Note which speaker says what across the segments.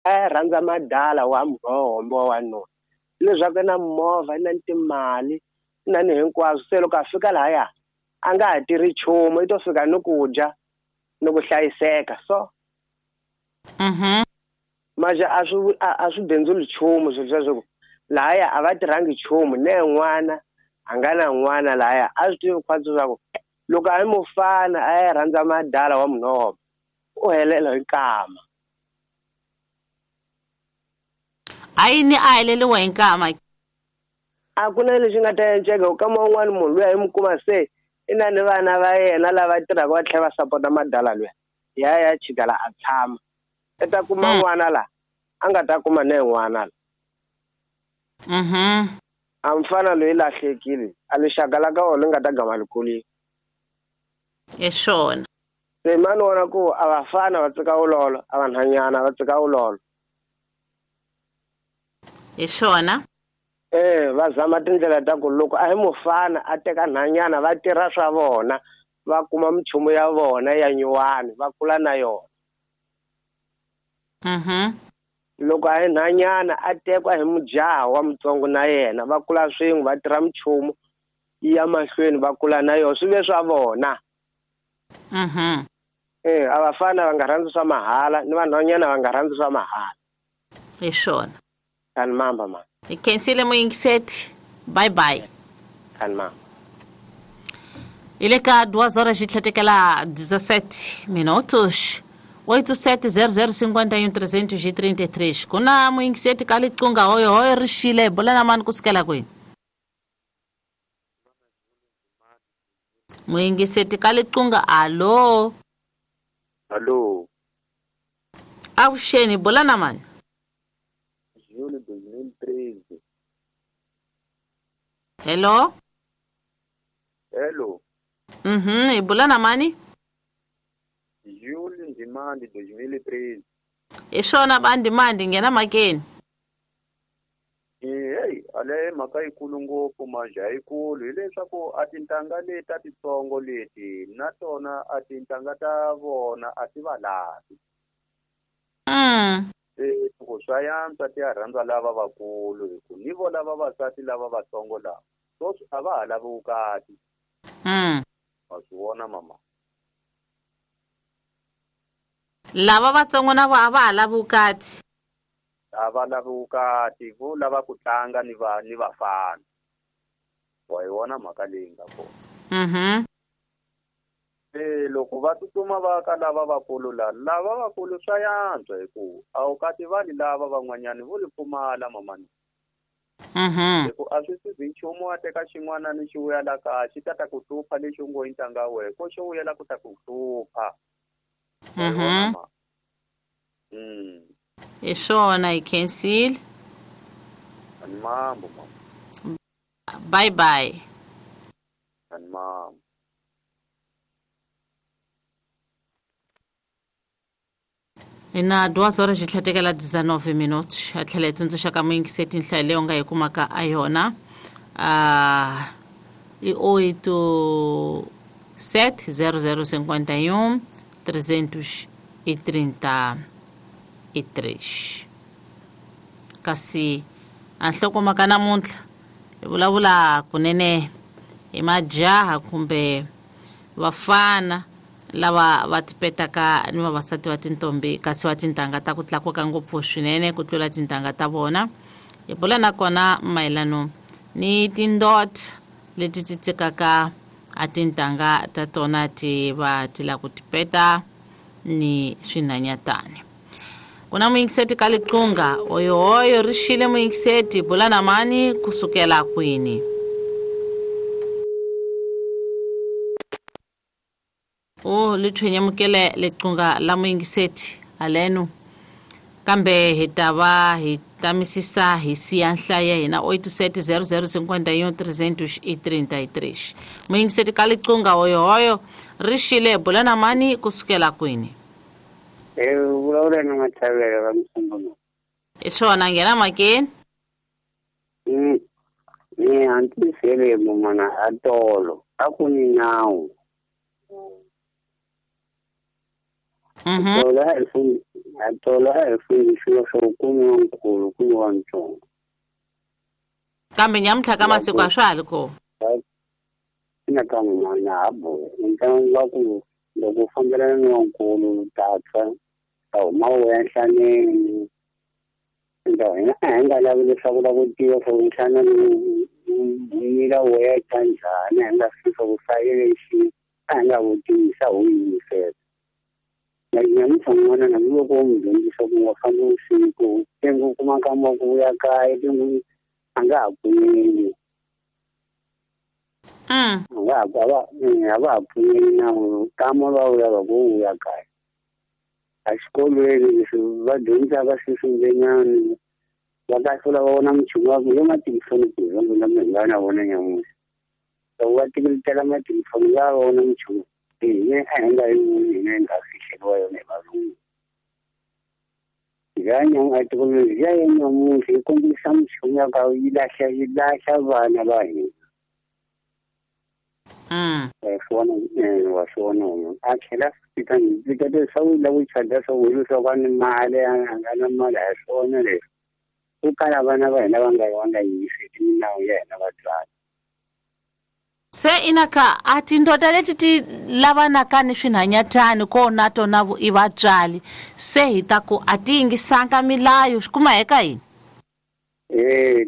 Speaker 1: A ya rhandza madala wa murhombo wa wanuna leswaku i na movha i na timali i na ni hinkwaswo. Se loko a fika lahaya a nga ha tirhi nchumu, i to fika ni ku dya ni ku hlayiseka. So manje a swi bindzuli nchumu swilo sweswo, lahaya a va tirhangi nchumu. Ne n'wana a nga na n'wana lahaya, a swi tivi khwatsi leswaku loko a yi mufana a ya rhandza madala wa munhu u helela hi nkama.
Speaker 2: A yini a heleliwa hi nkama?
Speaker 1: A ku na lexi nga ta enceka u kama un'wana munhu luya hi mu kuma se i na ni vana va yena lava tirhaka va tlhela va sapota madala luya, ya chika la a tshama. I ta kuma n'wana la a nga ta kuma ne n'wana la. A mfana loyi lahlekile, a lixaka la ka wona li nga ta gama likulile.
Speaker 2: Hi swona.
Speaker 1: Se mani vona ku a vafana va tsika vulolo, a vanhwanyana va tsika vulolo.
Speaker 2: Hi swona.
Speaker 1: Va zama tindlela ta ku loko a hi mufana a teka nhwanyana va tirha swa vona, va kuma minchumu ya vona ya nyuwani, va kula na yona. Loko a hi nhwanyana a tekwa hi mujaha wa mutsongo na yena, va kula swin'we, va tirha minchumu ya mahlweni, va kula na yona, swi ve swa vona. A vafana va nga rhandzi swa mahala ni vanhwanyana va nga rhandzi swa mahala.
Speaker 2: Hi swona.
Speaker 1: Kani mamba ma.
Speaker 2: Hi khensile muyingiseti. Bye bye.
Speaker 1: Kani mamba.
Speaker 2: Hi le ka 2 horas xi tlhetekela 17 minutos. 87 00 51 333. Ku na muyingiseti ka liqunga hoyo hoyo ri xile, hi bula na mani kusukela kwini? Muyingiseti ka liqunga, alo.
Speaker 3: Alo.
Speaker 2: Avuxeni, bula na mani?
Speaker 3: Júlio 2013.
Speaker 2: Hello.
Speaker 3: Hello.
Speaker 2: Hi bula na mani?
Speaker 3: Júlio Ndimande 2013.
Speaker 2: Hi swona ba Ndimande, nghena mhakeni.
Speaker 3: Hey, ale mhaka yikulu ngopfu manje ayikulu hileswaku a tintangha leti a titsongo leti na tona a tintangha ta vona a ti va lavi. Ku swa yantswa ti ya rhandza lava vakulu hi ku ni vo lava vavasati lava vatsongo lava sweswi a va ha lavi vukati. Wa swi vona mama.
Speaker 2: Lava vatsongo na vo a va ha lavi vukati.
Speaker 3: A va lavi vukati, vo lava ku tlanga ni va ni vafana. Wa yi vona mhaka leyi nga kona. Loko va tsutsuma va ka lava vakulu la, lava vakulu swa yantswa hi ku a wu kati vani lava van'wanyani vo li pfumala mamani. Hi ku a swi sizi nchumu wa teka xin'wana ni xi vuya la kaya xi ta ta ku hlupha lexi u ngo i ntanga wehe ko xo vuyela ku ta ku hlupha.
Speaker 2: Hi swona, hi khensile.
Speaker 3: Ani mambo mama.
Speaker 2: Bye bye.
Speaker 3: Ani mambo.
Speaker 2: Hi na 2 horas xi tlhetekela 19 minutos. A tlhela hi tsundzuxa ka muyingiseti nhlayo leyi u nga yi kumaka a yona. I 8 7 00 51 333. Kasi a nhlokomhaka namuntlha hi vulavula kunene hi majaha kumbe vafana lava va tipetaka ni vavasati va tintombi kasi va tintangha ta ku tlakuka ngopfu swinene ku tlula tintangha ta vona. Hi bula nakona mayelano ni tindot leti ti tsikaka a tintangha ta tona ti va ti la ku tipeta ni swinhanyatani. Ku na muyingiseti ka liqunga, oyo oyo ri xile muyingiseti, bula na mani kusukela kwini? O li thwenyamukele liqunga la muyingiseti haleno, kambe hi ta va hi tamisisa hi siya nhlayo ya hina 87 00 51 333. Muyingiseti ka liqunga oyo oyo ri xile, bula na mani kusukela kwini?
Speaker 4: Vulavula na Mathavela va Msungunu.
Speaker 2: Hi swona, nghena mhakeni.
Speaker 4: Ni hatlisele mun'wana a tolo a ku ni nawu. A tolo a hi fundisiwa swa ku ni wa nkulu ku ni wa ntsongo.
Speaker 2: Kambe nyamuntlha ka masiku a swa ha ri kona.
Speaker 4: Ina ka n'wana ha boha. Ntlangu wa ku loko u fambelana ni wa nkulu ta tshwa ta huma u ya nhlaneni. Hina a hi nga lavi leswaku la ku tiva swa ku nhlana mila wo ya tya njhani, a hi nga swi swa ku fayele a hi nga vutisa ho yingisela. Na nyamuntlha n'wana na loko u n'wi dyondzisa ku nga fambi vusiku, tengo u kuma nkama wa ku vuya kaya, tengo a nga ha pfumeli. A va ha pfumeli na nkama va wu lava ku vuya kaya. A xikolweni leswi va dyondzaka sweswi va ta hlula va vona minchumu wa ku yo matilifoni ku hi va nga na vona nyamuntlha. Loko va tekeletela matilifoni va vona minchumu hina a hi nga yi voni hina hi nga fihleriwa yona hi valungu. Thekinoloji ya nyamuntlha yi kombisa minchumu ya ka yi lahla vana va hina. Wa swona a tlhela fika fika leswaku la ku chada swa ku leswaku a ni mali a nga na mali a hi swona leswi. Ku kala vana va hina va nga yingiseli milawu ya hina vatswari.
Speaker 2: Se inaka a tindoda leti ti lavanaka ni swinhanyatani kona tona i vatswari se hi ta ku a ti yingisanga milayo swi kuma eka yini?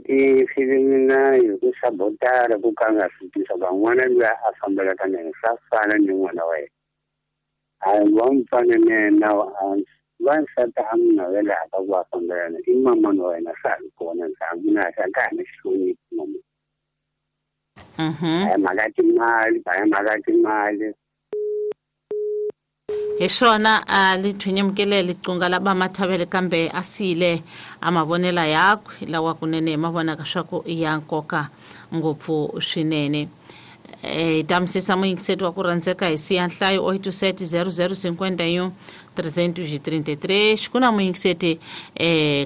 Speaker 4: Ti file milayo ku sabotara ku ka nga swi tisa ka n'wana loyi a fambelaka na yena swa fana ni n'wana wa yena. A va n'wi fana na yena wansati a n'wi navelaka ku a fambelana i mamani wa yena swa ha ri kona ndzhaku na a ka ha ni hloniphi mama. A hi mhaka timali.
Speaker 2: Hi swona a lithwinyamukele liqunga la vamathavele kambe a siyile a mavonela yakwe lawa kunene ma vonaka swa ku i ya nkoka ngopfu swinene. Hi tamisisa muyingiseti wa ku rhandzeka hi siya nhlayo 87 00 51 333 xikuna muyingiseti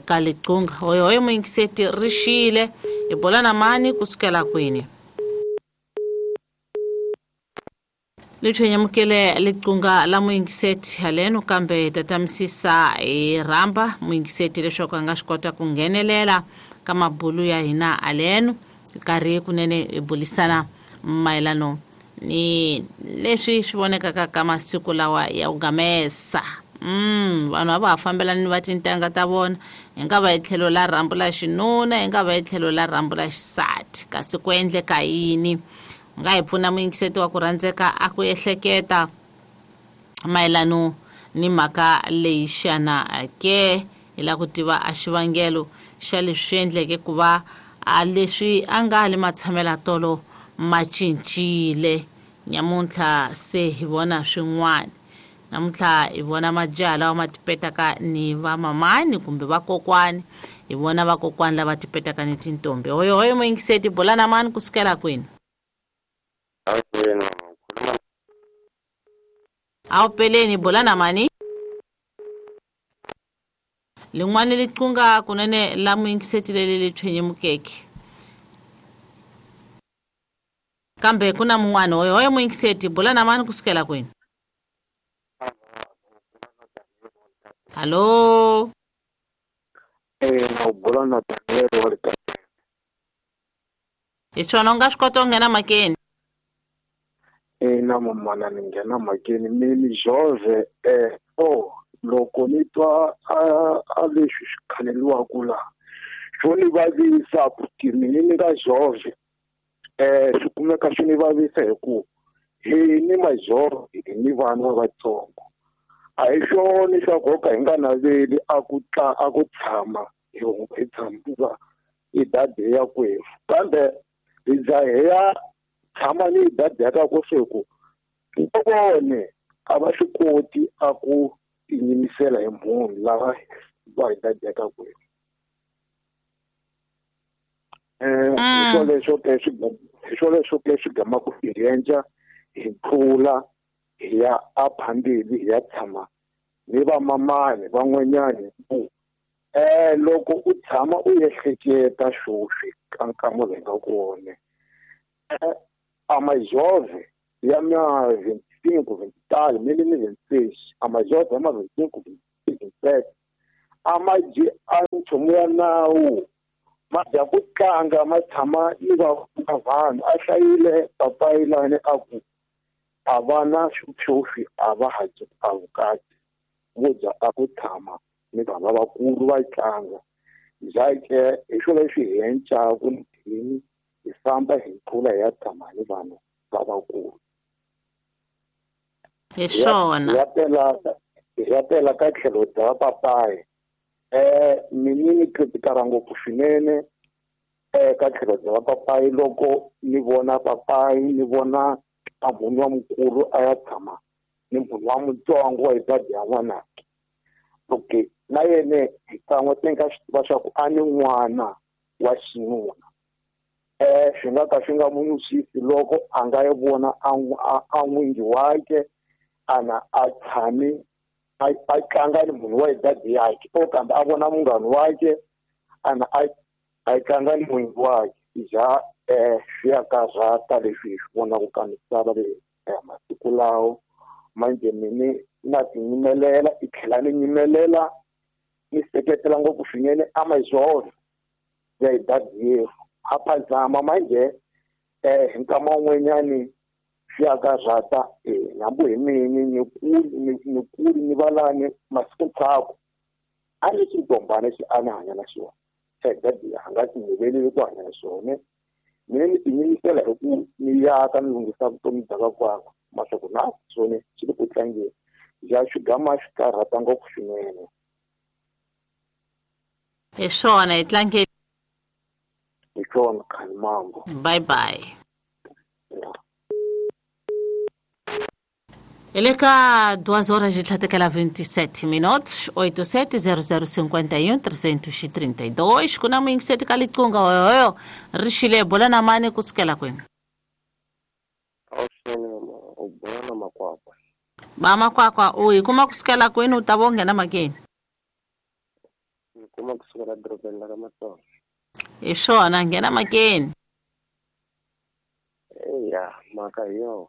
Speaker 2: ka liqunga hoyohoyo muyingiseti ri xile hi bola na mani kusukela kwini. Lithwenyamukele liqunga la muyingiseti haleno kambe tatamisisa hi rhamba muyingiseti leswaku a nga swi kota ku nghenelela ka mabulu ya hina haleno nkarhi kunene hi bulisana mayelano ni leswi swi vonekaka ka masiku lawa ya ku gamesa. Vanhu a va ha fambelani ni va tintangha ta vona hi nga va hi tlhelo la rhambu la xinuna hi nga va hi tlhelo la rhambu la xisati kasi ku endleka yini? Nga hi pfuna muyingiseti wa ku rhandzeka a ku ehleketa mayelano ni mhaka leyi xana ke hi lava ku tiva a xivangelo xa leswi endleke ku va a leswi a nga le matshamela tolo ma cincile nyamuntlha se hi vona swin'wana. Namuntlha hi vona majaha lawa ma tipetaka ni vamamani kumbe vakokwani, hi vona vakokwani lava tipetaka ni tintombi. Hoyohoyo muyingiseti bola na mani kusukela kwini? Awu peleni bola na mani? Lin'wana liqunga kunene la muyingiseti leli lithwenyemukeke kambe ku na mun'wana. Hoyohoyo muyingiseti bola na mani kusukela kwini? Hallo?
Speaker 5: Na bola na Daniel wa le
Speaker 2: Hi swona u nga swi kota ku nghena makeni?
Speaker 5: Na mamana ni nghena makeni mi Jove loko ni twa a leswi swi khaleliwaku laha swo ni vavisa ku mina ni nga Jove swi kumeka swi ni vavisa hi ku hi ni majove hi ni vana vatsongo a hi swona swa ku ka hi nga naveli a ku tshama hi tshama i dade ya kwefu kambe hi za hi ya tshama ni dade ya ka ku swi ku vone a va swi koti a ku tinyimisela hi munhu lava va hi dade ya ka kwefu. Hi swoleswo ke swi gamaku hi endla hi tlula hi ya aphambili hi ya tshama ni vamamani van'wanyani ku loko u tshama u ehleketa swoswi ka nkama lowu hi nga kona a majove ya ma 25 23 mili ni 26 a majove ya ma 25 27 A ma dyi a nchumu ya nawu, ma dya ku tlanga, ma tshama ni vanhu. A hlayile papayi lani a ku a va na xiphyuphi, a va ha dyi a vukati, vo dya a ku tshama ni vanhu lavakulu va tlanga. Njhake hi swona leswi hi encaku hi famba hi tlula hi ya tshama ni vanhu lavakulu.
Speaker 2: Hi swona.
Speaker 5: Hi ya tela ka tlhelo bya papayi. Mina ni kritikara ngopfu swinene ka tlhelo bya papayi loko ni vona papayi, ni vona a munhu wa mukulu a ya tshama ni munhu wa mutsongo wa idadi ya n'wanake. Okay, na yena hi kan'we se nga swi tiva swa ku a ni n'wana wa xinuna. Swi nga ka swi nga n'wi nwisisi loko a nga yi vona a n'wingi wakhe ana a tshami a tlanga ni munhu wa idadi yakhe, o kambe a vona munghana wakhe ana a tlanga ni n'wingi wakhe. Ja swi ya karhata leswi hi swi vonaka ka misava leyi masiku lawo. Manje mini na tinyimelela, i tlhela ni nyimelela ni seketela ngopfu swinene Amazon ya idadi yerhu. A phazama manje hi nkama wun'wanyani swi ya karhata hambi hi mini ni kuli ni valani masiku ntshaku a ni xintombana xi a ni hanya na xona xa idadi a nga tinyimeleli ku hanya na xona. Mina ni tinyimisela hi ku ni yaka ni lunghisa vutomi bya vakwakwa maswaku na swona swi le ku tlangeni. Ja swi gama swi karhata ngopfu swinene.
Speaker 2: Hi swona hi tlangeni.
Speaker 5: Hi swona Khanimambo.
Speaker 2: Bye bye. Ele ka 2 horas de tlhatekela 27 minutos, 870051 332. Kuna muyingiseti ka liqunga hoyohoyo ri xile bola na mani kusukela kwini?
Speaker 1: U bola na Makwakwa.
Speaker 2: Ba Makwakwa, u yi kuma kusukela kwini u ta vo nghena makeni?
Speaker 1: Ni kuma kusukela dorobeni la ka Matsonga.
Speaker 2: Hi swona, nghena makeni.
Speaker 1: Eya, mhaka hi yona.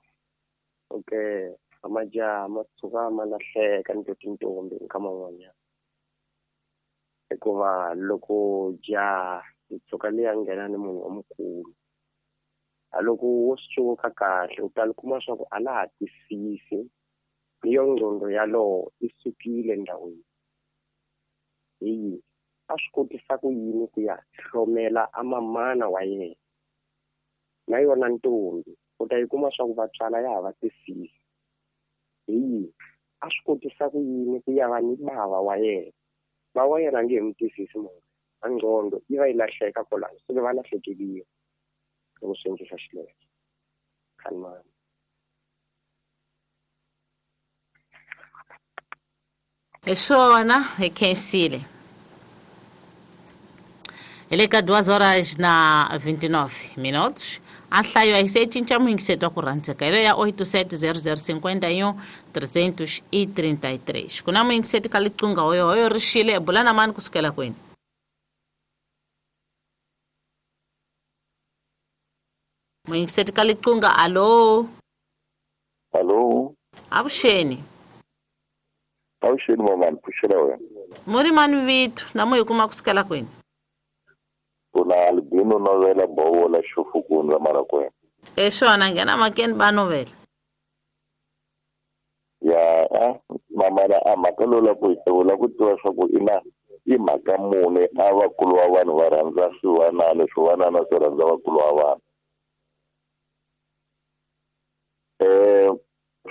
Speaker 1: Okay. Amajaha ma tshuka ma lahleka ni tintombi nkama wun'wanyana, hikuva loko jaha yi tshuka liya nghena ni munhu wa mukulu, a loko wo swi cuvuka kahle u ta kuma swa ku a la ha twisisi, ni yo nqondo yalowo i sukile ndhawini. Hi a swi kotisa ku yini ku ya hlomela a mamana wa yena na yona ntombi, u ta yi kuma swa ku vatswala ya ha va twisisi. Hi a swi kotisa ku yini ku ya va ni bava wa yena, ba wa yena nge he mu twisisi munhu, a nqondo yi va yi lahleka kwalano, se va lahlekeliwa loko swi endlisa xileswo. Khanimani.
Speaker 2: Hi swona, hi khensile. Hi le ka 2 horas na 29 minutos. A nhlayo a yi se cinca muyingiseti wa ku rhandzeka hi leyo ya 870051 333. Ku na muyingiseti ka liqunga hoyohoyo ri xile bula na mani kusukela kwini? Muyingiseti ka liqunga, alo.
Speaker 6: Alo.
Speaker 2: Avuxeni.
Speaker 6: Avuxeni mamani, pfuxela wena.
Speaker 2: Muri mani vito na mu hi kuma kusukela kwini?
Speaker 6: Kuna Albino Novela Bowola Xofukundla Marakwena.
Speaker 2: E swona, nghena makeni ba Novela.
Speaker 6: Ya mamana a mhaka lowu la ku la ku tiva swa ku ina i mhaka mune a vakulu wa vanhu va rhandza swivanana, swivanana swi rhandza vakulu wa vanhu.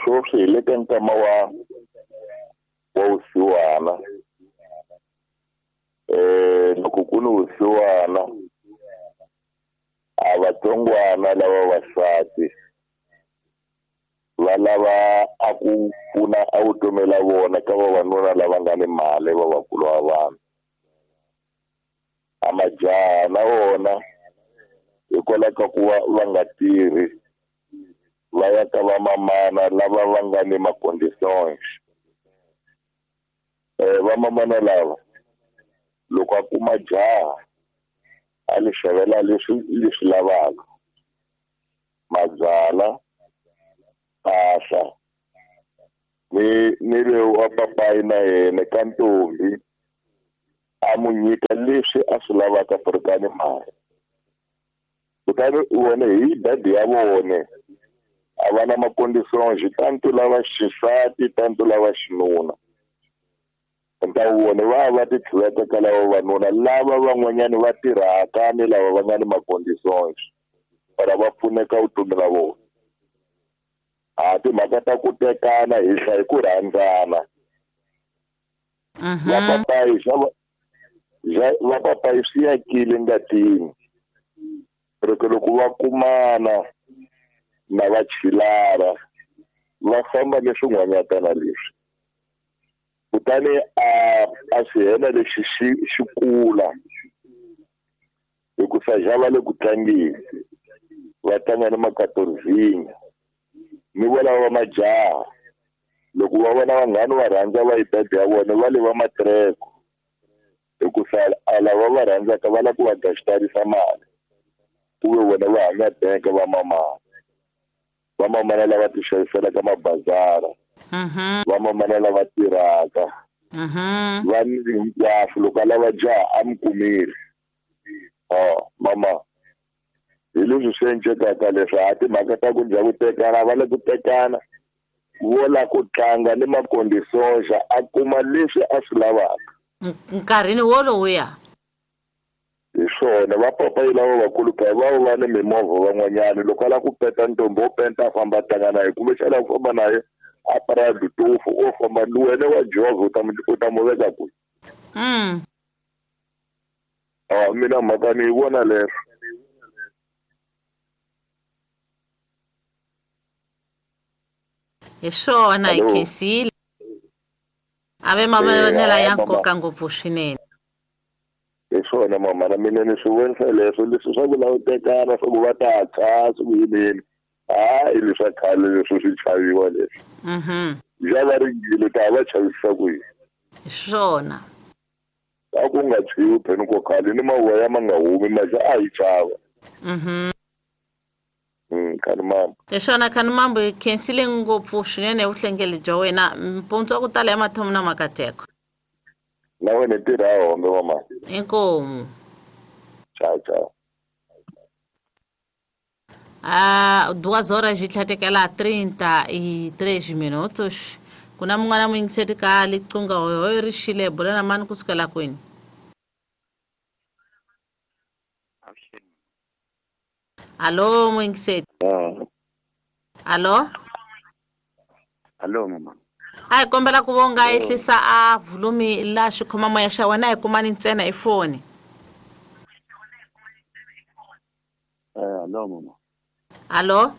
Speaker 6: Sweswi hi le ka nkama wa vusiwana. Loko ku ni vusiwana a vatsongwana lava vasati va lava a ku pfuna a vutomi la vona ka vavanuna lava nga ni mali va vakulu wa vanhu. A majaha na wona hikwalaho ka ku va nga tirhi va ya ka vamamana lava va nga ni ma-conditions. Vamamana lava loko a kuma jaha a li xavela leswi leswi lavaka, mabyala, mpahla, ni loyi wa papayi na yena ka ntombi A mu nyika leswi a swi lavaka furikani mali. Kutani vona hi dadi ya vona a va na maconditions tanto lava xisati tanto lava xinuna. Nta vona va ti tlhuveta ka lava vavanuna lava van'wanyani va tirhaka ni lava va nga ni maconditions para va pfuneka vutomi la vona. A timhaka ta ku tekana hi hlaya ku rhandzana. Va papayi swi yakile ngatini. Loko va kumana na va chilara va famba ni swin'wanyatana leswi. Kutani a xihena lexi xi kula hikusa xa va le ku tlangeni va tlanga ni makatorzinya ni volava va majaha loko va vona vanghani va rhandza va yidadi ya vona va le va matreko hikusa a lava va rhandzaka va lava ku va gaxitarisa mali ku ve vona va hanya bank va mamana. Va mamana lava ti xaviselaka mabazara. Va mamana lava tirhaka. Va ni hinkwaswo loko a lava jaha a mi kumile. Mama hi leswi swi encekaka leswi a timhaka ta ku dya ku tekana va le ku tekana vo la ku tlanga ni macondisoxa a kuma leswi a swi lavaka.
Speaker 2: Nkarhini wolowuya.
Speaker 6: Hi swona va papayi lava vakulu ka va va ni mimovha van'wanyana loko a lava ku peta ntombi wo penta a famba a tlanga na ye kumbexana ku famba na ye a Prado tofu o famba ni wena wa jovha u ta mu veka kwihi? Mina mhaka ni yi vona leswo.
Speaker 2: Hi swona hi khensile. A ve mavonelo ya nkoka ngopfu swinene.
Speaker 6: Hi swona mama na mina ni swi vonisa leswo leswi swa ku lava tekana swa ku va ta tshwa swi ku yinini. Hayi leswa khale leswi swi chaviwa leswi. Ja va ringile ta va chavisisa ku yini.
Speaker 2: Hi swona.
Speaker 6: A ku nga tshwiwi pheni ko khale ni mavoya ma nga humi maja a yi chava. Khani mambo.
Speaker 2: Hi swona khani mambo hi khensile ngopfu swinene vuhlengeli bya wena mpundzu wa ku tala ya mathomo na makateko.
Speaker 6: Na wena tirha hombe mama.
Speaker 2: Inkomu.
Speaker 6: Tchau, tchau.
Speaker 2: 2 horas e 33 minutos. Kuna mun'wana muyingiseri ka liqunga hoyo ri xile bula na mani kusukela kwini? Alô muyingiseri. Alô?
Speaker 4: Alô mama.
Speaker 2: A hi kombela ku vonga ehlisa a volume la xikhomamoya xa wena hi kumani ntsena hi foni.
Speaker 4: Alô mama.
Speaker 2: Alô?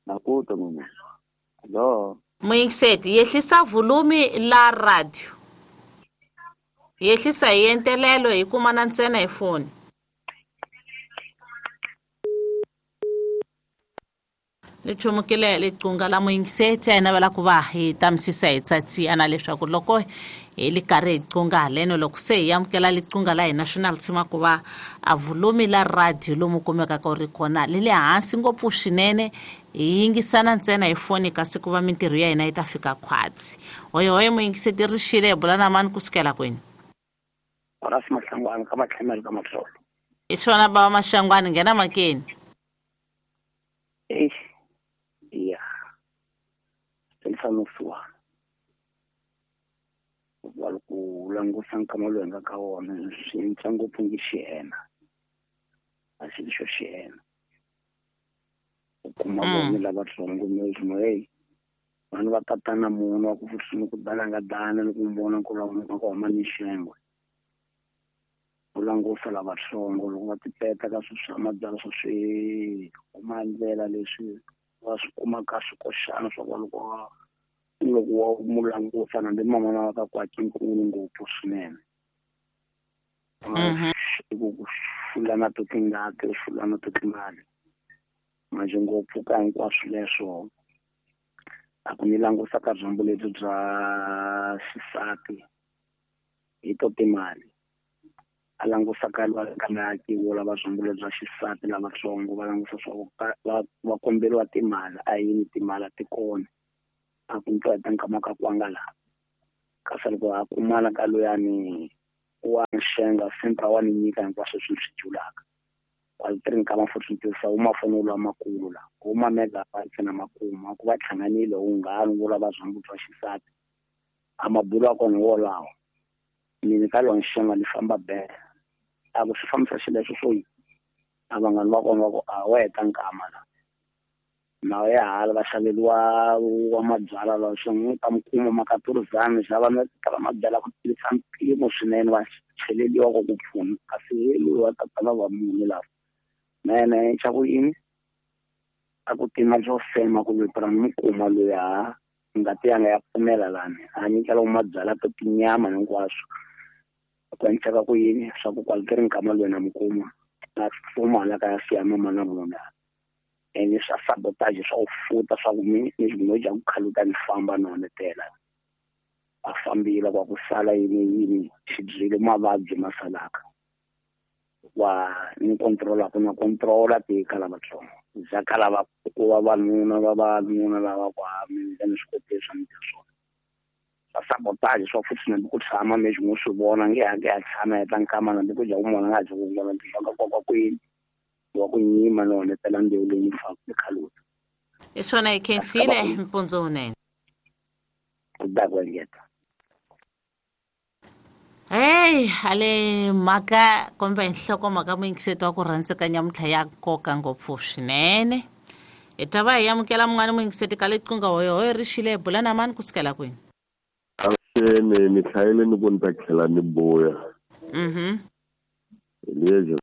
Speaker 4: Nakuta mama. Alô?
Speaker 2: Muyingiseti yehlisa volume la radio. Yehlisa hi entelelo hi kumana ntsena hi foni. Lichumukile liqunga la muyingiseti a hi navela ku va hi tamisisa hi tsatsiyana leswaku loko hi li karhi hi qunga haleno loko se hi amukela liqunga la hina swi na tshima ku va a volume la radio lomu kumekaka u ri kona li le hansi ngopfu swinene hi yingisana ntsena hi foni kasi ku va mintirho ya hina yi ta fika khwatsi. Hoyohoyo muyingiseti ri xile hi bula na mani kusukela kwini?
Speaker 4: Horace Mahlangwane ka Matlhemelo ka Matlolo.
Speaker 2: Hi swona bava Mahlangwane nghena makeni.
Speaker 4: Ya mfano wa ku langusa nkama lowu nga ka wona swi cinca ngopfu ngi xiyena a xi xo xiyena u kuma vona lavatsongo mi hey vanhu va tatana munhu wa ku futhi ku dana nga dana ni ku vona ku lava ku huma ni xengwe u langusa lavatsongo loko va tipeta ka swilo swa mabyalwa swa swi huma ndlela leswi va swi kuma ka swikoxana swa ku loko loko wa mu langusa na mama na ka kwaki nkulu ngopfu swinene ku fulana to tingati fulana to timali manje ngopfu ka hinkwaswo leswo a ku ni langusa ka byambu lebyi bya xisati hi to timali a langusa ka lwa lava byambu lebyi bya xisati lavatsongo va langusa swa va komberiwa timali a yini timali a ti kona a ku ntwa ta nkama ka kwanga laha Kasi loko a kumana ka luyani wa nxenga sempre wa ni nyika hinkwaswo swi swi julaka. Kwale tiri nkama futhi ntirhisa wu mafoni lamakulu la wu ma megabytes na makuma ku va hlanganile wunghana wo lava zwa mbuti wa xisati a mabulo ya kona wolawo mina ka lona nxenga ni famba bele a ku swi fambisa xileswo swo yi a vanghana va kona va ku a wa heta nkama la na ya hala va xaveriwa wa mabyalwa lawa swi n'wi ta mi kuma makaturizani xava na tala mabyalwa ku tirhisa mpimo swinene va cheleliwa ku ku pfuna kasi loyi wa tatana va munhu lava mene xa ku yini a ku tima swo fema ku lwetela ni kuma loyi ha ngati yanga ya pfumela lani a nyikela mabyalwa to tinyama hinkwaswo ku endleka ku yini swa ku kwale ti ri nkama loyi na mi kuma na fuma hala ka ya siya mama na munhu ene swa sabotage swa ku futa swa ku mi ni no dya ku khaluta ni famba na honetela a fambile kwa ku sala yini yini xibyile mavabyi ma salaka wa ni controla ku na controla ti kala vatsongo za kala va ku va vanuna va vanuna lava ku ha mi ni swi koti swa mi swona swa sabotage swa futhi na ku tshama mi swi swi vona nge ha ya tshama heta nkama na ku dya ku mona nga dyi ku vona swa ka kwa kwini wa ku nyima no honetela mbewu leyi ni faka ni khaluta
Speaker 2: hi swona hi khensile mpundzu wunene
Speaker 4: ku da ku engeta.
Speaker 2: Hey, ale mhaka kumbe nhlokomhaka muyingiseti wa ku rhandzeka nyamuntlha ya nkoka ngopfu swinene. Hi ta va hi amukela mun'wana muyingiseti ka liqingho hoyohoyo ri xile hi bula na mani kusukela kwini?
Speaker 6: Avuxeni, ni hlayile ni ku ni ta tlhela ni buya. Lexi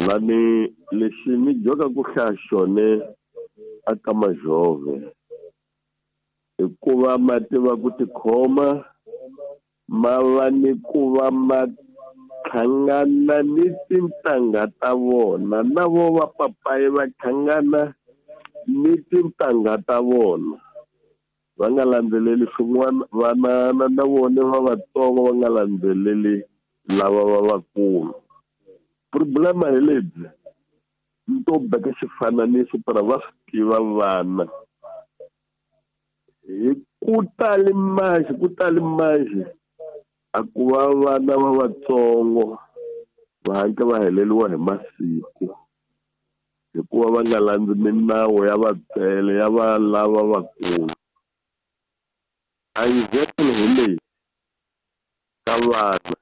Speaker 6: lani lexi ni joka ku hlaya xone aka majove hikuva ma tiva ku tikhoma ma va ni ku va ma hlangana ni tintangha ta vona na vo va papayi va hlangana ni tintangha ta vona va nga landzeleli swin'wana vana na vona va vatsongo va nga landzeleli lava va vakulu. Problema hi lebyi ni to beka xifananiso para va swi tiva vana hi ku tali manjhe a ku va vana va vatsongo va hatla va heleriwa hi masiku hikuva va nga landzi minawu ya vatswele ya va lava vakulu. A example hi leyi ka vana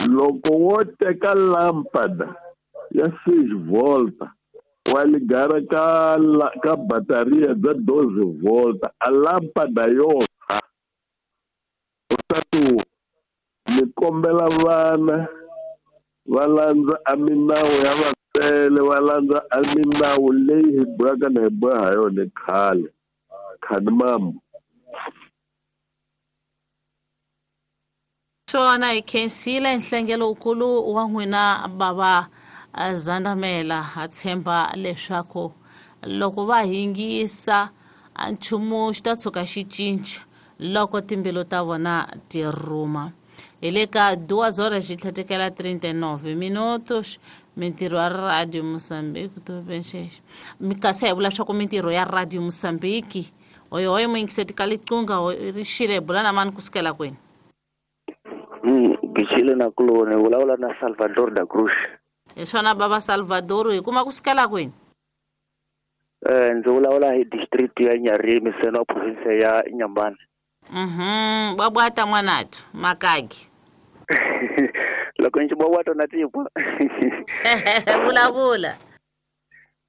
Speaker 6: loko wo teka lampada ya 6 volta wa ligara ka bataria bya 12 volta a lampada yo tshwa u ta tu ni kombela vana va landza a minawu ya vatswele va landza a minawu leyi hi bohaka na hi boha ha yona khale khani mambo.
Speaker 2: Swona hi khensile nhlengelo wukulu wa n'wina bava Zandamela ha tshemba leswaku loko va hingisa nchumu xi ta tshuka xi cinca loko timbilu ta vona ti rhuma. Hi le ka 2:39 minutos mintirho ya Radio Mozambique to venxexe kasi hi vula swa ku mintirho ya Radio Mozambique hoyohoyo muyingiseti ka liqingho ri xile bula na mani kusukela kwini?
Speaker 7: Gixile na kuloni vulavula na Salvador da Cruz.
Speaker 2: Hi swona bava Salvador hi kuma kusukela kwini?
Speaker 7: Ndzi vulavula hi district ya Nyarimi seno province ya Inhambane.
Speaker 2: Babwata mwanathu makagi.
Speaker 7: Loko ndzi babwata na tipo.
Speaker 2: Vulavula.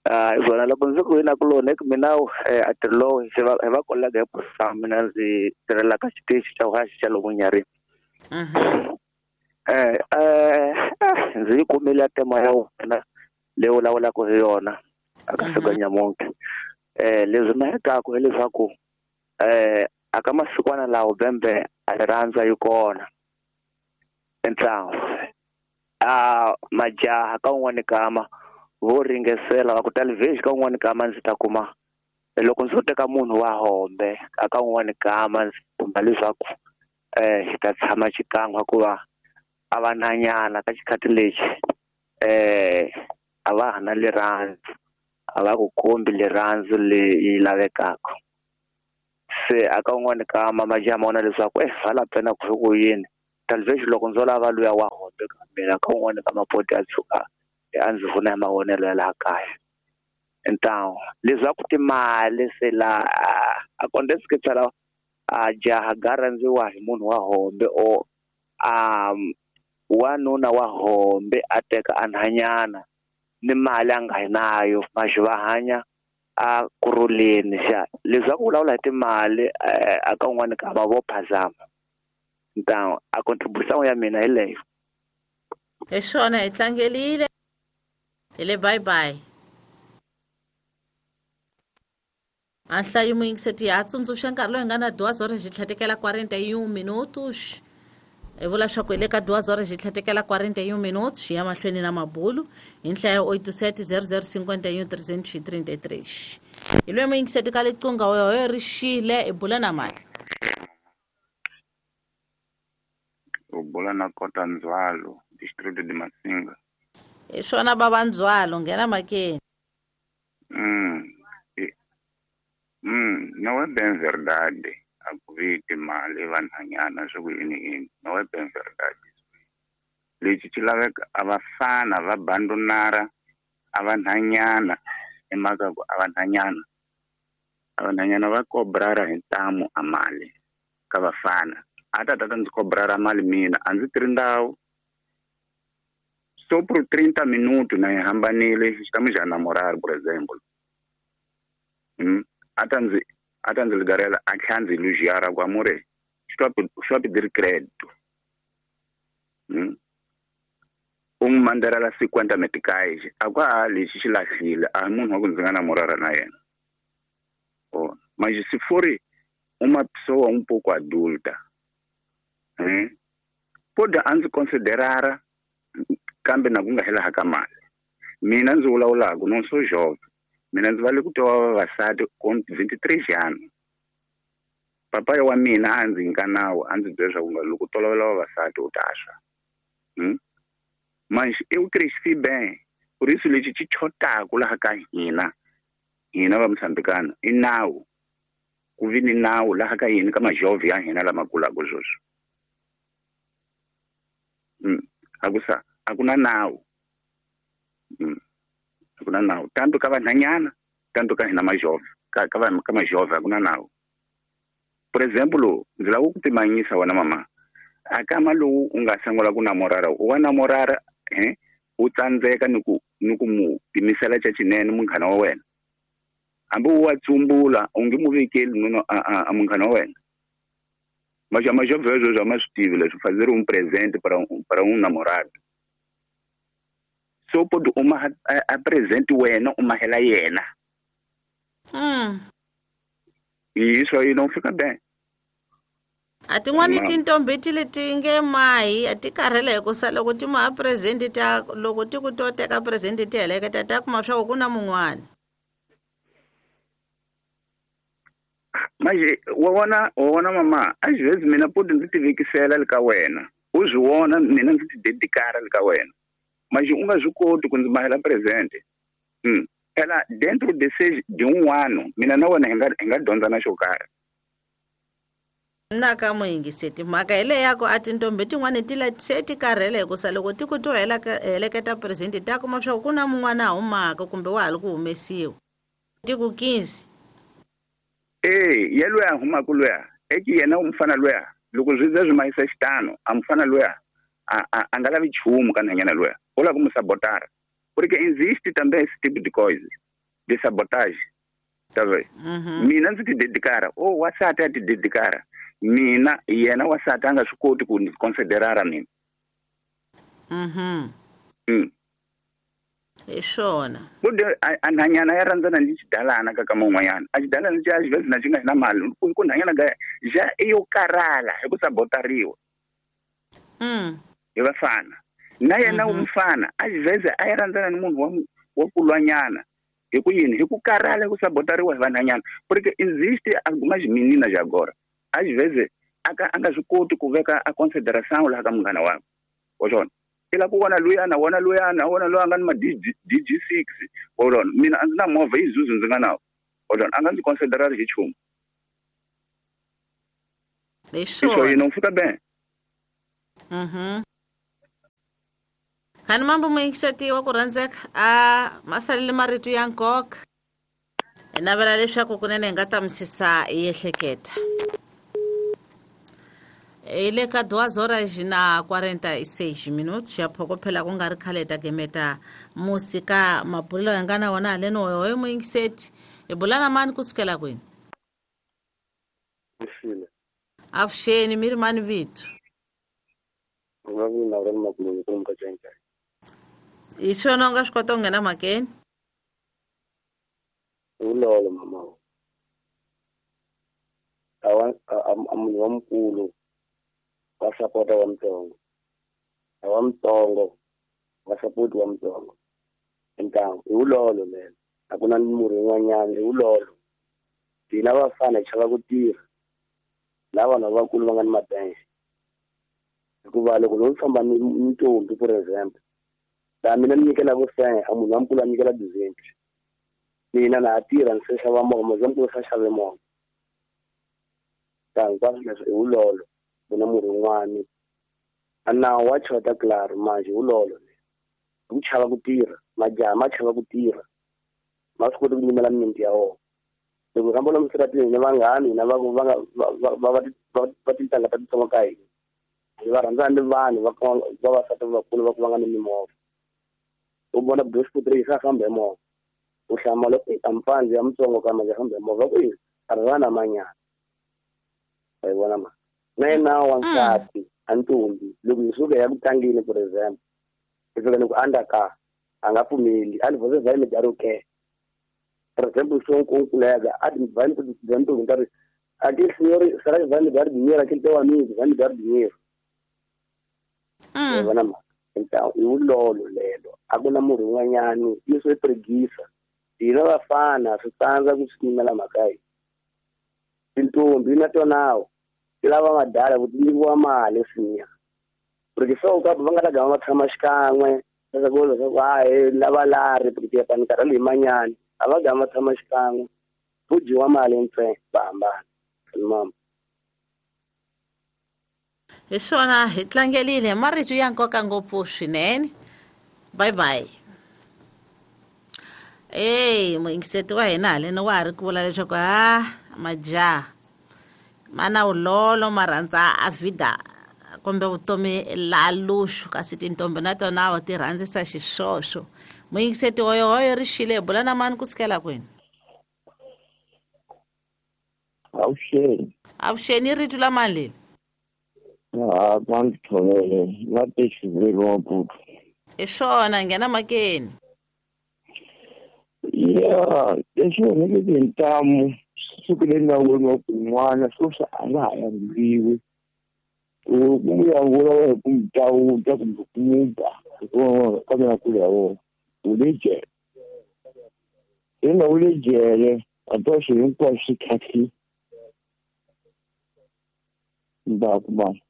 Speaker 7: Hi swona loko ndzi ku na kuloni ku mina a tirho hi va kolega hi posa mina ndzi tirhela ka xitichi xa vuhaxi xa lomu Nyarimi. Ndzi yi kumile tema ya wena leyi vulavulaka hi yona aka siku nyamuntlha. Leswi mahekaku hileswaku aka masikwana lawo bembe a rirhandza yi kona entlangu majaha ka un'wana kama vo ringesela va ku talivhexi ka un'wana kama ndzi ta kuma loko ndzo teka munhu wa hombe aka un'wana kama ndzi kumba leswaku xi ta tshama xikan'we hikuva a va nanyana ka xikhathi lexi a va ha na rirhandzu a va ku kombi rirhandzu leyi lavekaka. Se aka un'wana ka mamajaha ma vona leswaku hala pena ku ku yini talvez loko ndzo lava luya wa hombe ka mina ka un'wana ka mapoti a tshuka a ndzi vona hi mavonelo ya laha kaya. Então leswaku timali se la acontece que phela a jaha ga rhandziwa hi munhu wa hombe o wanuna wa hombe a teka a nhanyana ni mali a nga hi nayo maxi va hanya a kurhuleni xa leswaku vulavula hi timali a ka un'wana ka va vo phazama. Então a contribuição ya mina hi leyo.
Speaker 2: Hi swona hi tlangelile hi le bye bye. A nhlayo muyingiseti ya tsundzuxa nkarhi lowu hi nga na 2 horas hi tlhatekela 41 minutos. Hi vula swa ku hi le ka 2 horas hi tlhatekela 41 minutos hi ya mahlweni na mabulu hi nhlayo 87 00 51 333. Hi loyi muyingiseti ka liqunga yoyo ri xile hi bula na mali.
Speaker 8: U bula na Kota Ndzwalo, distrito de Masinga.
Speaker 2: Hi swona bava Ndzwalo, nghena makeni.
Speaker 8: Não é bem verdade a ku vi timali vanhanyana swi ku yini yini. Não é bem verdade. Lexi xi laveka a vafana va bandonara a vanhanyana hi mhaka ku a vanhanyana va kobrara hi ntamu a mali ka vafana. A ta tata ndzi kobrara mali mina a ndzi tirhi ndhawu so por 30 minutos na hi hambanile estamos já namorar por exemplo. A ta ndzi ligarela a tlhela ndzi elogiar ku amore estou a pedir crédito. U n'wi mandarela 50 meticais a ku a lexi xi lahlile a hi munhu wa ku ndzi nga namorara na yena. Oh, mas se for uma pessoa um pouco adulta, pode a ndzi considerar kambe na ku nga hela ka mali. Mina ndzi vulavulaka não sou jovem. Mina ndzi vale ku twa vavasati com 23 anos. Papai wa mina a ndzi nyika nawu a ndzi byela leswaku loko tolovela vavasati u ta swa. Mas eu cresci bem. Por isso lexi xi chotaku laha ka hina hina va Moçambicano i nawu. Ku vi ni nawu laha ka hina ka majovhi ya hina lama kulaka sweswi. A ku na nawu. A ku na nawu tanto ka vanhanyana tanto ka hina majovhi ka majovhi a ku na nawu. Por exemplo, ndzi lava ku pimanyisa wena mama a kama lowu u nga sungula ku namorara u wa namorara u tsandzeka ni ku mu pimisela xa xinene munghana wa wena. Hambi u wa tsumbula u nge mu vekeli nuna a munghana wa wena. Mas a majovhi sweswo a ma swi tivi leswi fazer um presente para um namorado. So pode uma a presente wena u mahela yena. E isso aí não fica bem.
Speaker 2: A tin'wani tintombi ti leti nge mahi a ti karhele hi ku sa loko ti maha presente ta loko ti ku to teka presente ti heleketa ta kuma swa ku ku na mun'wana.
Speaker 8: Mas wa vona mama às vezes mina pode ndzi ti vekisela le ka wena u swi vona mina ndzi ti dedikara le ka wena mas u nga swi koti ku ndzi mahela presente. Phela dentro de um ano mina na wena hi nga dyondza na xo karhi.
Speaker 2: Na ka muyingiseti mhaka hi leyi ya ku a tintombi tin'wani ti se ti karhele hi ku sa loko ti ku to heleketa presente ta kuma swa ku ku na mun'wana a humaka kumbe wa ha ri ku humesiwa ti ku 15.
Speaker 8: Ye loyi a humaka luya eki yena u mufana luya loko swi ze swi mahisa xitano a mufana luya a nga lavi nchumu ka nhanyana luya u lava ku mu sabotara porque existe também esse tipo de coisa de sabotagem, tá vendo? Mina ndzi ti dedikara o wasati a ti dedikara mina yena wasati a nga swi koti ku ndzi considerara mina.
Speaker 2: Hi swona
Speaker 8: kude a nhanyana ya rhandzana ni xidalana ka kama un'wanyana a xidalana xi a xivezi na xi nga na mali ku nhanyana ka xa i yo karhala hi ku sabotariwa hi vafana na yena mufana a xiveze a yi rhandzana ni munhu wa kulwanyana hi ku yini hi ku karhala hi ku sabotariwa hi vanhanyana porque existe algumas meninas agora às vezes a nga swi koti ku veka a consideração laha ka munghana wakwe wa swona i lava ku vona luyana wona luyana wona loyi a nga ni ma DG6 wa swona mina a ndzi na movha Isuzu ndzi nga nawo wa swona a nga ndzi considerari hi nchumu. Isso aí não fica bem.
Speaker 2: Uhum. Khani mambo muyingiseti wa ku rhandzeka a ma salele marito ya nkoka. Hi navela leswaku kunene hi nga ta misisa hi ehleketa. Hi le ka 2:46 ya phokophela ku nga ri khale ta gemeta musika mabulelo ya nga na wona haleni hoyo muyingiseti. Hi bula na mani kusukela kwini? Avuxeni mi ri mani vito? Hi swona u nga swi kota ku nghena mhakeni?
Speaker 4: Vulolo mama. A munhu wa mukulu wa sapota wa mutsongo. A wa mutsongo wa sapoti wa mutsongo. Ntangu i vulolo lelo. A ku na murhi wun'wanyana i vulolo. Hina vafana hi chava ku tirha. Lava vanhu lavakulu va nga ni mabenxe. Hikuva loko no famba ni ntombi for example, laha mina ni nyikelaka 100, a munhu wa mukulu a nyikela 200. Mina na ha tirha ni se xava movha, munhu wa mukulu se xave movha. Ta hinkwaswo leswi i vulolo, ku na murhi wun'wani. A nawu wa chota claro manje vulolo. Ku chava ku tirha, majaha ma chava ku tirha. Ma swi koti ku nyimela mimiti ya wona. Loko hi famba lomu switarateni hina vanghani hina va va tintangha ta titsongo ka hina. Hi va rhandzana ni vanhu va vavasati vakulu va ku va nga ni mimovha. U vona Bushbuckridge sa famba hi movha. U hlamala ku a mpfandzi ya mutsongo ka manje famba hi movha ku a ri vana manyana. Wa yi vona ma. Na yena wansati a ntombi loko hi suka hi ya ku tlangeni for example, hi fika ni ku andza a nga pfumeli a ni você vai me dar o quê? For example, se um colega, vai me perguntar, aquele senhor, será que vai me dar dinheiro? Aquele teu amigo vai me dar dinheiro? Então, i vulolo lelo. A ku na murhi wun'wanyani, isso i preguiça. Hina vafana swi tsandza ku swi nyimela mhaka yi. Tintombi na tona ti lava madala ku ti nyikiwa mali sinya. Porque só ka va nga ta gama va tshama xikan'we, leswaku leswaku hayi lava lari porque ya ni karhele hi manyani. A va gama tshama xikan'we, ku dyiwa mali ntsena va hambana. Mama.
Speaker 2: Hi swona hi tlangelile marito ya nkoka ngopfu swinene. Bye bye. Ey, muyingiseti wa hina haleni wa ha ri ku vula leswaku ha majaha ma na vulolo ma rhandza a vida kumbe vutomi la luxu kasi tintombi na tona ti rhandzisa xiswoswo. Muyingiseti hoyohoyo ri xile hi bula na mani kusukela kwini?
Speaker 9: Avuxeni.
Speaker 2: Avuxeni rito la mani leli?
Speaker 9: Ha va ndzi thovele va te xivulelo Maputo.
Speaker 2: Hi swona nghena makeni.
Speaker 9: Ya lexi onheke tintamu siku leri nga voniwa ku n'wana sweswi a nga ha yanguriwi. Ku n'wi yangula wa hi ku n'wi tawuta kumbe ku n'wi ba hikuva ka mina kulu ya wona u le jele. I nga u le jele a to swilo hinkwaswo swi tlhatlhile. Ndzhaku mama.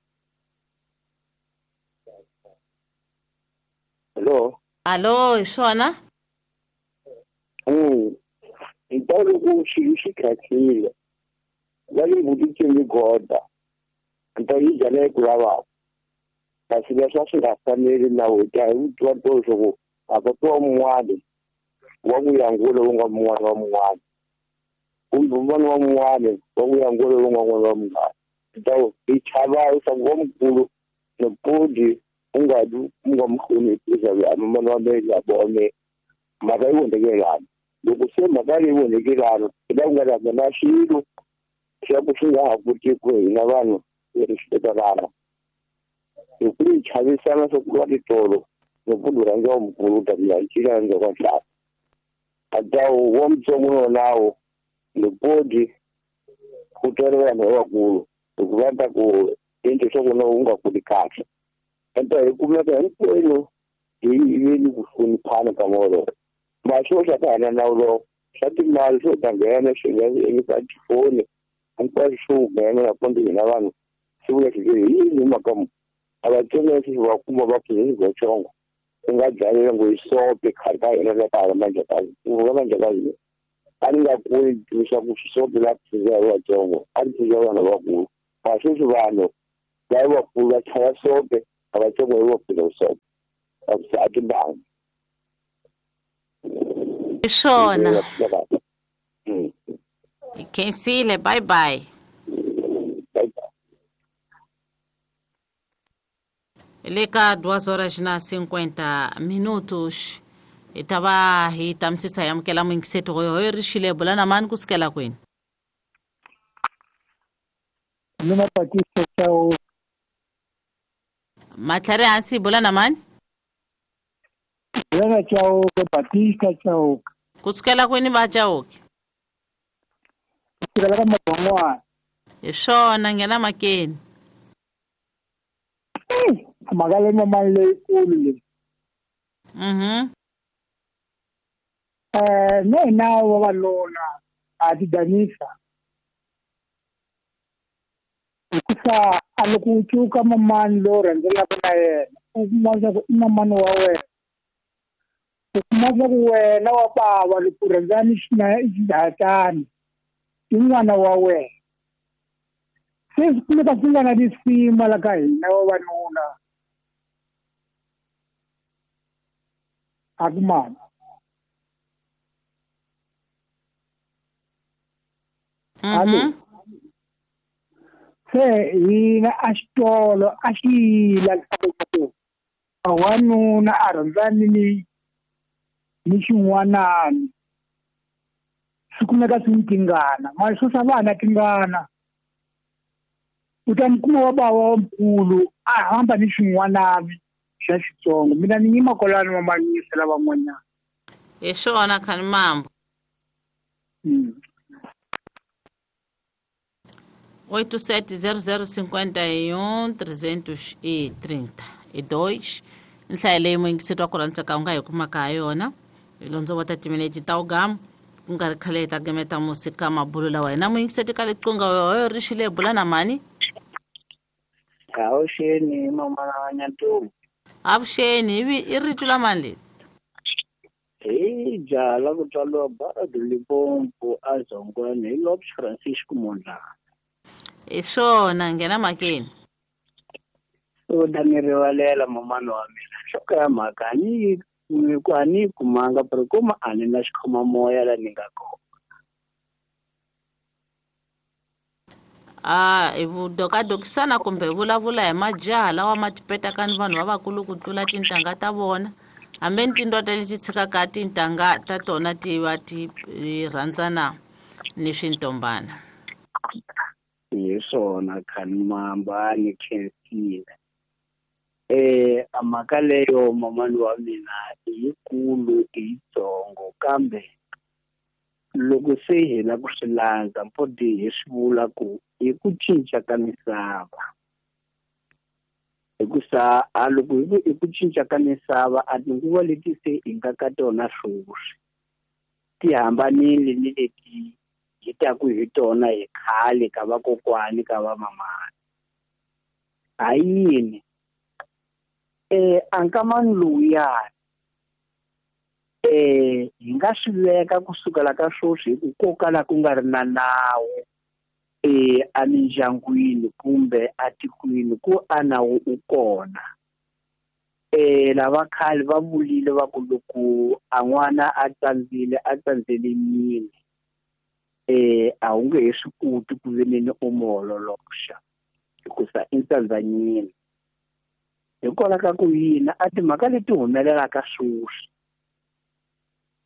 Speaker 4: Hello.
Speaker 2: Alo, hi swona?
Speaker 9: Nta loko swilo swi tlhatlhile va le vuticeni goda nta yi byala yi ku lavaka kasi leswi a swi nga faneli nawu hi ta hi vutiwa to leswaku a ka tiwa mun'wani wa ku yangula wu nga mun'wana wa mun'wana kumbe un'wana wa mun'wana wa ku yangula wu nga n'wana wa mun'wana. Nta hi chava leswaku wa mukulu nopodi u nga u nga mu hloniphi leswaku a mana wa mina ya vone mhaka yi vonhekelana. Loko se mhaka leyi vonhekelana hi la ku nga ta na swilo swa ku swi nga ha kotiki ku hina vanhu hi ri xitekelana. Hi ku hi chavisana swa ku lwa titolo loko u rhandza wa mukulu u ta ku ya cina endzhaku ka ntlhanu. A ta wa mutsongo wonawo nopodi ku twela vanhu lavakulu hikuva ta ku endle swa ku na u nga kuli kahle. Enta hi kumeka hinkwenu hi ve ni ku hloniphana ka wolowo. Maswo swa ka hana nawu lowo swa timali swo ta nghena swi nga eka tifoni hinkwaswo swo nghena na kumbe hina vanhu swi vula swi hi yini mhaka mu a vatsonga leswi va kuma va pfuna vatsongo ku nga dlalela ngo hi sope khale ka hina la ka hala manjhakazi ku va manjhakazi a ni nga kuli leswaku sope la pfuna vatsongo a ri pfuna vanhu lavakulu. Sweswi vanhu va vakulu va chaya soke a va tsongo hi vapfula soke a timbangi.
Speaker 2: Hi swona. Hi khensile, bye bye. Le ka 2:50 hi ta va hi tamisisa hi amukela muyingiseti hoyo ri xile bula na mani kusukela kwini?
Speaker 10: Mina Batista Chauke.
Speaker 2: Matlhari hansi bula na mani?
Speaker 10: Bula Chauke, Batista Chauke.
Speaker 2: Kusukela kwini va Chauke?
Speaker 10: Kusukela ka Mabon'wana.
Speaker 2: Hi swona, nghena makeni.
Speaker 10: Mhaka leyi mamani leyikulu leyi. Na hina vavanuna ha ti danisa. Hikusa a loko u cuka mamani lowu rhandzelaka na yena, u kuma leswaku i mamani wa wena. U kuma leswaku wena wa bava loko u rhandzana ni xihatani i n'wana wa wena. Se swi kumeka swi nga na risima la ka hina vavanuna. A ku mani. Alo. Se hina a xitolo a xi yila leswaku wanuna a rhandzani ni xin'wanani. Swi kumeka swi ni tingana. Mara swo swa vana tingana. U ta mi kuma wa bava wa mukulu a hamba ni xin'wanani xa xitsongo. Mina ni yima kwalano va manyisa lavan'wanyana.
Speaker 2: Hi swona khani mambo. 87 00 51 332 nhlayo leyi muyingiseti wa ku rhandzaka u nga hi kumaka ha yona. Hi londzo wa ta timinete ta ugamu ku nga ri khale hi ta gemeta musi ka mabulu lawa hina muyingiseti ka liqunga hoyo ri xile bula na mani?
Speaker 11: Avuxeni mamana wa Nyantombi.
Speaker 2: Avuxeni, i rito la mani leri?
Speaker 11: Hi jaha la ku tswariwa Baradi Limpopo a Zongweni hi Lopes Francisco Mondlane.
Speaker 2: Hi swona, nghena makeni.
Speaker 11: U ta ni rivalela mamana wa mina. Nhloko ya mhaka a ni yi kumanga pero kuma a ni na xikhomamoya la ni nga kona.
Speaker 2: A hi vudokadokisana kumbe hi vulavula hi majaha lawa ma tipetaka ni vanhu lavakulu ku tlula tintangha ta vona. Hambi ni tindota leti tshikaka tintangha ta tona ti va ti rhandzana ni swintombana.
Speaker 11: Hi swona khani mamba ni khensile. A mhaka leyo mamani wa mina i yikulu i yitsongo kambe loko se hi la ku swi landza mpodi hi swi vula ku i ku cinca ka misava. Hikusa a loko hi ku i ku cinca ka misava a tinguva leti se hi nga ka tona sweswi ti hambanile ni leti hi taku hi tona hi khale ka vakokwani ka vamamani. Ha yini? A nkamani lowuyani hi nga swi veka kusukela ka sweswi hi ku ko kala ku nga ri na nawu emindyangwini kumbe atikweni ku a nawu u kona. Lava khale va vulile va ku loko a n'wana a tsandzile a tsandzele yini a wu nge he swi koti ku veneni u mu ololoxa hikusa i tsandzanyini. Hikwalaho ka ku yini a timhaka leti humelelaka sweswi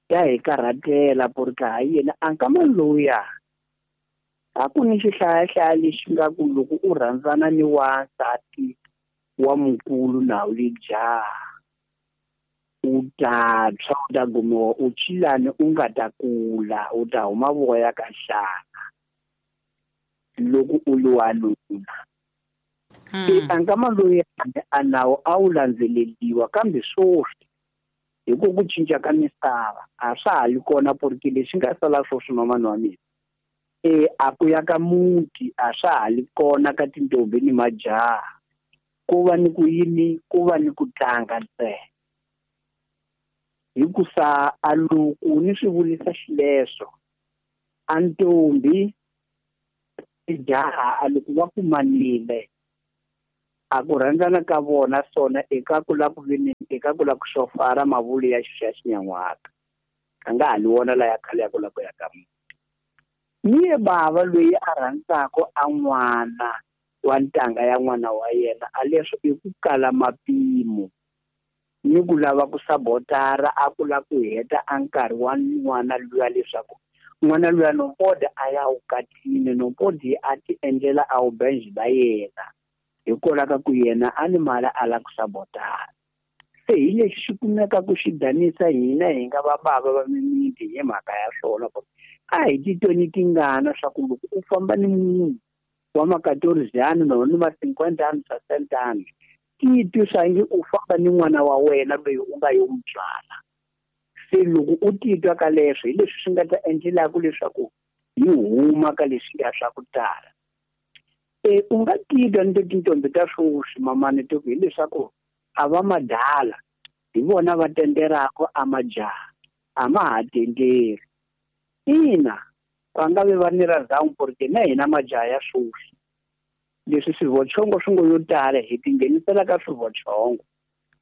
Speaker 11: ya hi karhatela ku ri ka ha yini a nkamani lowuya a ku ni xihlayahlaya lexi nga ku loko u rhandzana ni wansati wa mukulu na wu le jaha u ta tshwa u ta gumiwa u chilani u nga ta kula u ta huma voya ka nhlana loko u li wanuna. A nkama loyi a nawu a wu landzeleriwa kambe sweswi hi ku cinca ka misava a swa ha li kona porque lexi nga sala sweswi mamani wa mina a ku ya ka muti a swa ha li kona ka tintombi ni majaha ku va ni ku yini ku va ni ku tlanga ntsena. Hikusa a loko ni swi vulisa xileswo a ntombi Tijaha loko va kumanile a ku rhandzana ka vona swona eka ku la ku vini eka ku la ku xofara mavulu ya xi xinyan'waka a nga ha li wona la ya khale ya ku la ku ya ka munhu. Ni ye bava loyi a rhandzaka a n'wana wa ntanga ya n'wana wa yena a leswo i ku kala mapimo ni ku lava ku sabotara a ku la ku heta a nkarhi wa n'wana luya leswaku n'wana luya nompodi a ya wukatini nompodi a ti endlela a wubenji ba yena hikwalaho ka ku yena a ni mali a la ku sabotara. Se hi lexi xi kumeka ku xi danisa hina hi nga va bava va mimiti hi mhaka ya swona ku a hi titweni tingana swa ku loko u famba ni munhu wa ma-14 no ni ma-50 anos 60 anos titwi swangi u famba ni n'wana wa wena loyi u nga yo n'wi tswala. Se loko u titwa ka leswo hi leswi swi nga ta endlelaka leswaku hi huma ka leswiya swa ku tala. U nga titwa ni tintombi ta swoswi mamani to hileswaku a va madala hi vona va tenderaka a majaha a ma ha tenderi. Ina va nga vi va ni ra porque na hina majaha ya swoswi leswi swivochongo swi ngo yo tala hi tinghenisela ka swivochongo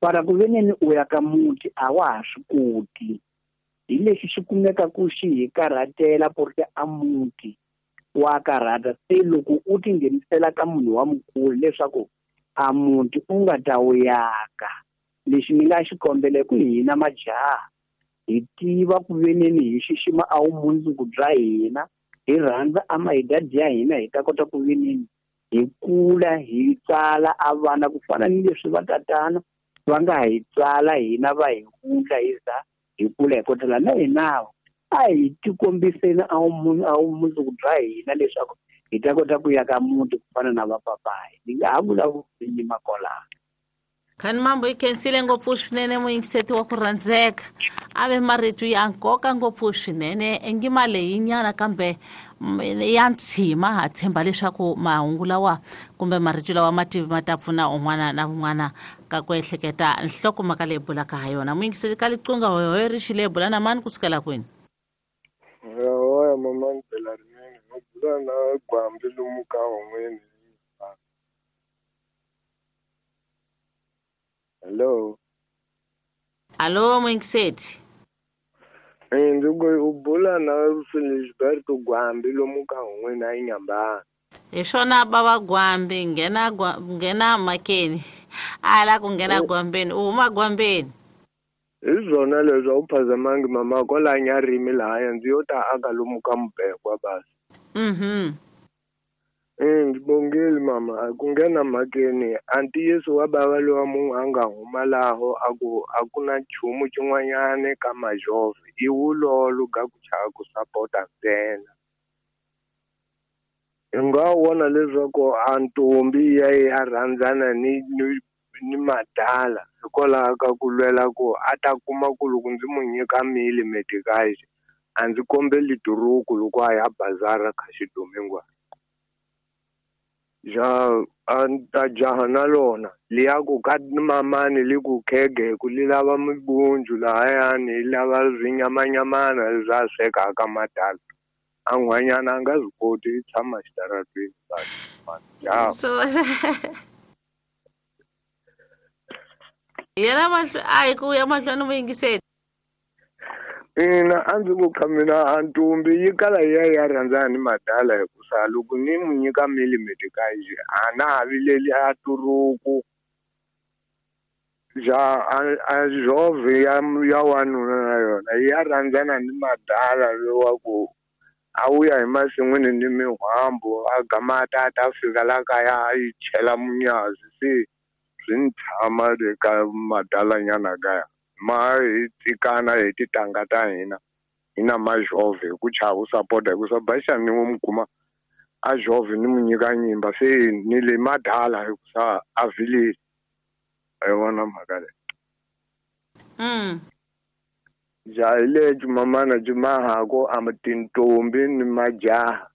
Speaker 11: para ku veneni u ya ka muti a wa ha swi koti. Hi lexi xi kumeka ku xi hi karhatela porque a muti wa karhata. Se loko u tinghenisela ka munhu wa mukulu leswaku a muti u nga ta wu yaka, lexi ni nga xi kombela ku hina majaha hi tiva ku veneni hi xixima a vumundzuku bya hina, hi rhandza a mahidadi ya hina hi ta kota ku veneni hi kula hi tsala a vana ku fana ni leswi va tatana va nga hi tsala hina va hi wundla hi za hi kula hi kotela na hina a hi tikombiseni a vumundzuku bya hina leswaku hi ta kota ku ya ka muti ku fana na vapapayi. Ni nga ha vulavuli nyima kwalano.
Speaker 2: Khani Mambo yi khensile ngopfu swinene muyingiseti wa ku rhandzeka a ve marito ya nkoka ngopfu swinene engima leyinyana kambe ya ntshima. Ha tshemba leswaku mahungu lawa kumbe marito lawa mativi ma ta pfuna un'wana na un'wana ka ku ehleketa nhlokomhaka leyi bulaka ha yona. Muyingiseti ka liqunga hoyohoyo ri xile bula na mani kusukela kwini?
Speaker 12: Hoya mama ndlela rinene no bula na Gwambi lomu ka hon'weni. Hello.
Speaker 2: Allo muyingiseti.
Speaker 12: Ndzi ku u bula na Felisberto Gwambi lomu ka hon'weni a Inyambana.
Speaker 2: Hi swona bava Gwambi nghena makeni a la ku nghena Gwambeni u huma Gwambeni.
Speaker 12: Hi swona leswi a wu phazamangi mama kwala Nyarimi lahaya ndzi yo ta aka lomu ka Mubekwa basi. Ndzi bongile mama ku nghena mhakeni a ntiyiso wa bava lowa munhu a nga huma laho a ku a ku na nchumu xin'wanyana ka majove i wulolo ga ku chava ku sapota ntsena. Hi nga vona leswaku a ntombi ya ya rhandzana ni madala hikwalaho ka ku lwela ku a ta kuma ku loko ndzi mu nyika mili medikaxi a ndzi kombeli duruku loko a ya bazara ka xidumingwana. Ja a jaha na lona liya ku ka mamani li ku khege ku li lava mibunju lahayani li lava swinyamanyamana leswi a swekaka madala a n'hwanyana a nga swi koti i tshama xitaratweni.
Speaker 2: Yena a hi ku ya mahlweni muyingiseti.
Speaker 12: Ina a ndzi ku kha mina a ntombi yi kala yi ya ya rhandzana ni madala hikusa loko ni mu nyika mili medikaxi a na ha vileli a turuku ja a jove ya wanuna na yona yi ya rhandzana ni madala lowa ku a wuya hi masin'wini ni mihwambu a gama a ta fika la kaya a yi chela munyazi se swi ni tshama le ka madalanyana kaya ma hi tsikana hi titanga ta hina hi na majove hi ku chava u sapota hikusa baxani ni n'wi kuma a jove ni mu nyika nyimba se ni le madala hikusa a vileli. A yi vona mhaka leyi. Ja hi lexi mamana byi mahako a tintombi ni majaha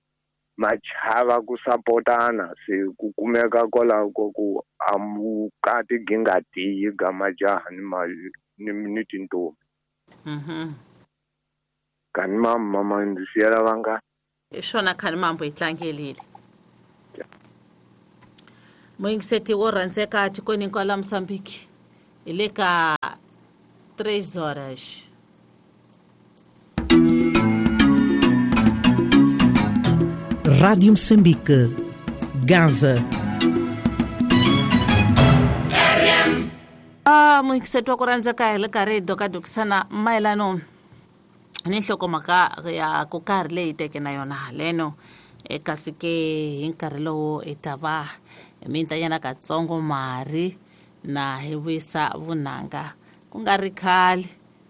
Speaker 12: ma chava ku sapotana se ku kumeka kwalaho ku a vukati byi nga tiyi ga majaha ni tintombi. Kani mama ndzi siyela vangani.
Speaker 2: Hi swona Khani Mambo hi tlangelile. Muyingiseti wo rhandzeka tikweni hinkwaro la Mozambique hi le ka 3 horas.
Speaker 13: Rádio Moçambique, Gaza.
Speaker 2: Muyingiseti wa ku rhandzeka hi le karhi hi dokadokisana mayelano ni nhlokomhaka ya ku karhi leyi teke na yona haleno, kasi ke hi nkarhi lowu hi ta va mintanyana katsongo mari na hi vuyisa vunanga ku nga ri khale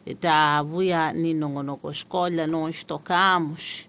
Speaker 2: hi ta vuya ni nongonoko xikolo no xitokamos.